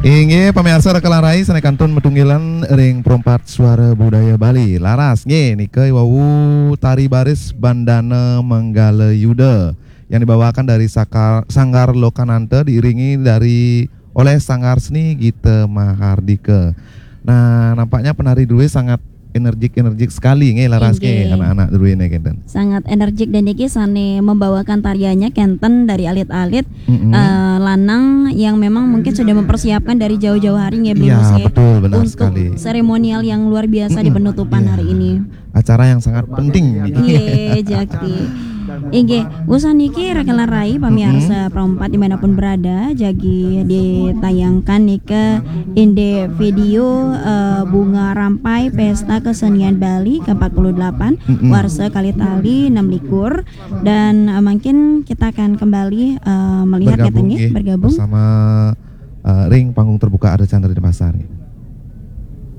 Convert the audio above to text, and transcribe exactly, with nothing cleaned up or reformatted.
Inggih, pamiarsa Raka lan Rai, sané kantun matunggilan ring Perempat Suara Budaya Bali. Laras, nggih, nika wau tari baris Bandana Manggala Yuda yang dibawakan dari Sakar, Sanggar Lokananta diiringi dari oleh Sanggar Seni Gita Mahardika. Nah, nampaknya penari drué sangat energik-energik sekali nggih, Laras nggih, inggih, anak-anak druéné kénten. Sangat energik dan niki sané membawakan tariannya kénten dari alit-alit, mm-mm, eh, lanang yang memang mungkin sudah mempersiapkan dari jauh-jauh hari nggih, Bli Mus, ya, nggih, betul, benar sekali, untuk seremonial yang luar biasa di, mm-mm, penutupan, iya, hari ini. Acara yang sangat penting niki. Iya, jakti. Inggih, usan niki Raka lan Rai, pamiarsa, mm-mm, Perempat dimanapun berada, jagi ditayangkan nika indik video, eh, Bunga Rampai Pesta Kesenian Bali ke empat puluh delapan, mm-mm, warsa kalih tali enam likur, dan, eh, mungkin kita akan kembali, eh, melihat bergabung, katanya, nggih, bergabung bersama, eh, ring panggung terbuka Ardha Candra Denpasar, nggih.